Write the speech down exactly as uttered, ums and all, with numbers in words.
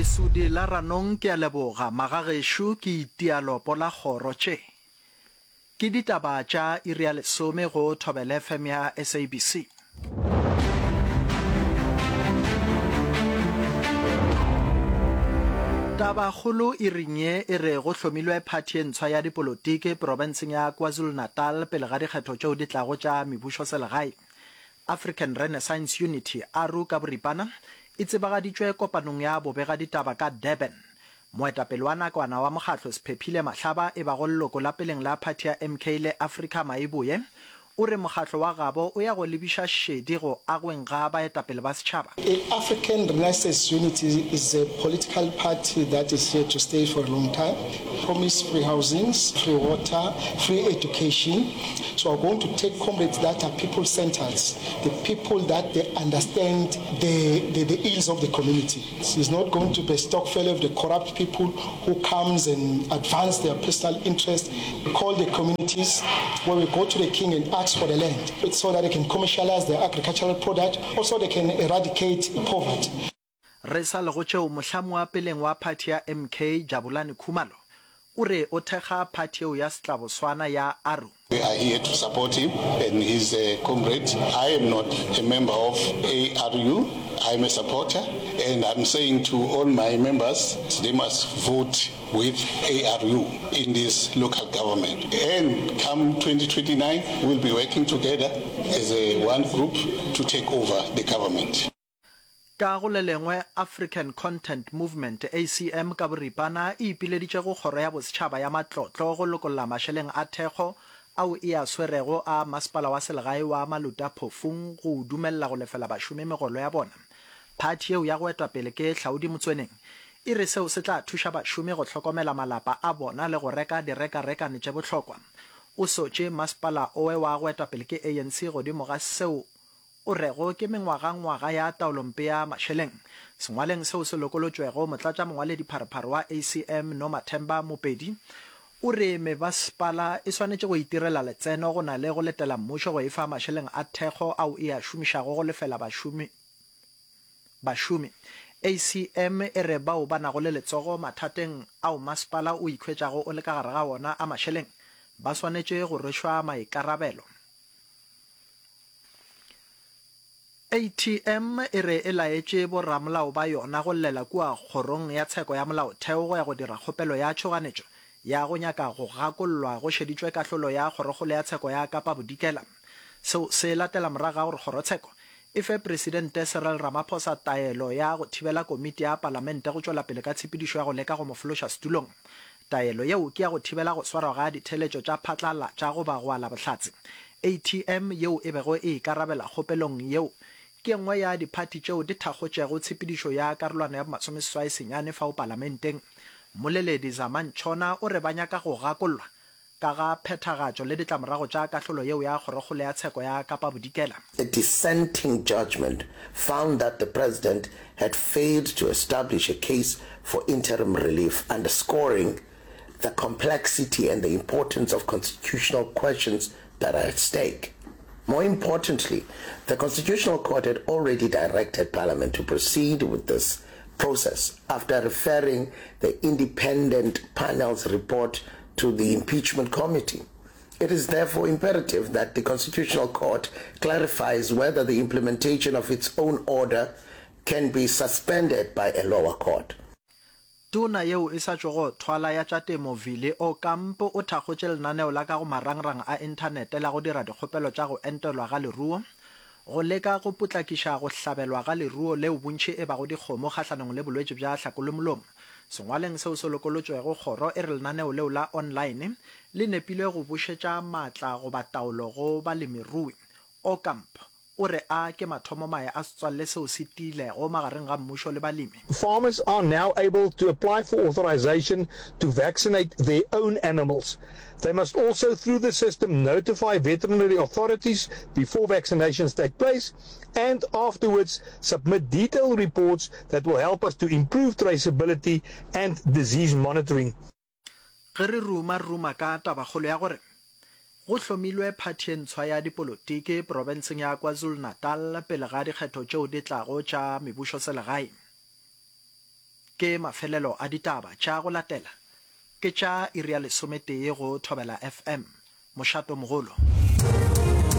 Lesudi la Ranong ke a leboga magagešo ke itia lopo la kgoro tše ke ditaba tša iri ya lesome go Thobela F M ya S A B C. Tabakgolo iring ye e re go hlomilwe phathi e ntshwa ya dipolotiki profenseng ya KwaZulu-Natal pele ga dikgetho tšeo di tlago tša mebušoselegae. African Renaissance Unity, A R U ka boripana, e tsebagaditšwe kopanong ya bobegaditaba ka Durban. Moetapele wa nakwana wa mokgatlo Sphephile Mahlaba e bago leloko la peleng la phathi ya M K le Africa Maeboye o re mokgatlo wa gabo o ya go lebiša šedi go agweng ga baetapele ba setšhaba. African Renaissance Unity is a political party that is here to stay for a long time. Promise free housings, free water, free education. So we're going to take comrades that are people-centered, the people that they understand the, the, the ills of the community. It's not going to be a stokvel of the corrupt people who comes and advance their personal interest. We call the communities where we go to the king and ask for the land so that they can commercialize their agricultural product, also they can eradicate poverty. Re sa le go tšeo, mohlami wa peleng wa phathi ya M K Jabulani Khumalo o re o thekga phathi yeo ya setlaboswana ya A R U. We are here to support him and his uh, comrade. I am not a member of A R U. I'm a supporter, and I'm saying to all my members, they must vote with A R U in this local government. And come twenty twenty-nine, we'll be working together as a one group to take over the government. Ka go le lengwe, African Content Movement, A C M ka boripana, e ipileditše go Kgoro ya Bosetšhaba ya Matlotlo go lokolla mašeleng a thekgo ao e a swerego a Masepala wa Selegae wa Maluta Phofung go o dumelela go lefela bašomi megolo ya bona. Phathi yeo ya go etwa pele ke Hlaudi Motsoeneng e re seo se tla thuša bašomi go hlokomela malapa a bona le go reka direkarekane tše bohlokwa. O sotše masepala owe wa go etwa pele ke A N C godimo ga seo o rego ke mengwagangwaga ya taolompe ya mašeleng. Sengwaleng seo se lokolotšwego, motlatšamongwaledipharephare wa A C M Nomathemba Mopedi o re mebasepala e swanetše go itirela letseno go na le go letela mmušo go e fa mašeleng a thekgo ao e a šomišago go lefela bašomi bašomi. A C M e re bao ba nago le letsogo mathateng ao masepala o ikhwetšago o le ka gare ga wona a mašeleng ba swanetše go rwešwa maikarabelo. A T M e re e laetše boramolao ba yona go llela kua Kgorong ya Tsheko ya Molaotheo go ya go dira kgopelo ya tšhoganetšo ya go nyaka go gakollwa go šeditšwe kahlolo ya Kgorokgolo ya Tsheko ya Kapa Bodikela. Seo se latela morago ga gore kgorotsheko e fe Presidente Cyril Ramaphosa taelo ya go thibela komiti ya Palamente go tšwela pele ka tshepedišo ya go leka go mo fološa setulong. Taelo yeo ke ya go thibela go swarwa ga ditheeletšo tša phatlalatša goba go ala bohlatse. A T M yeo e bego e ikarabela kgopelong yeo ke ye nngwe ya diphathi tšeo di thakgotšego tshepedišo ya karolwana ya bomasomeseswai senyane fao Palamenteng. Mmoleledi Zama Ntshona o re ba nyaka go gakollwa ka ga phethagatšo le ditlamorago tša kahlolo yeo ya Kgorokgolo ya Tsheko ya Kapa Bodikela. A dissenting judgment found that the president had failed to establish a case for interim relief, underscoring the complexity and the importance of constitutional questions that are at stake. More importantly, the Constitutional Court had already directed Parliament to proceed with this process after referring the independent panel's report to the impeachment committee. It is therefore imperative that the Constitutional Court clarifies whether the implementation of its own order can be suspended by a lower court. Tona yeo e sa tšwago thwala ya tša temo Vili Aucamp o thakgotše lenaneo la ka go marangrang a inthanete la go dira dikgopelo tša go entelwa ga leruo go leka go potlakiša go hlabelwa ga leruo leo bontši e bago dikgomo kgahlanong le bolwetši bja hlakolomolomo. Sengwaleng seo se lokolotšwego, kgoro e re lenaneo leo la online le nepile go bušetša maatla goba taolo go balemirui. Aucamp o re a ke mathomomae a setswalle seo se tiilego magareng ga mmušo le balemi. Farmers are now able to apply for authorization to vaccinate their own animals. They must also, through the system, notify veterinary authorities before vaccinations take place and afterwards submit detailed reports that will help us to improve traceability and disease monitoring. Ge re ruma re ruma ka tabakgolo ya gore go hlomilwe phathi e ntshwa ya dipolotiki profenseng ya KwaZulu-Natal pele ga dikgetho tšeo di tlago tša mebušoselegae. Ke mafelelo a ditaba tša go latela ke tša iri ya lesometee go Thobela FM. Mošato mogolo.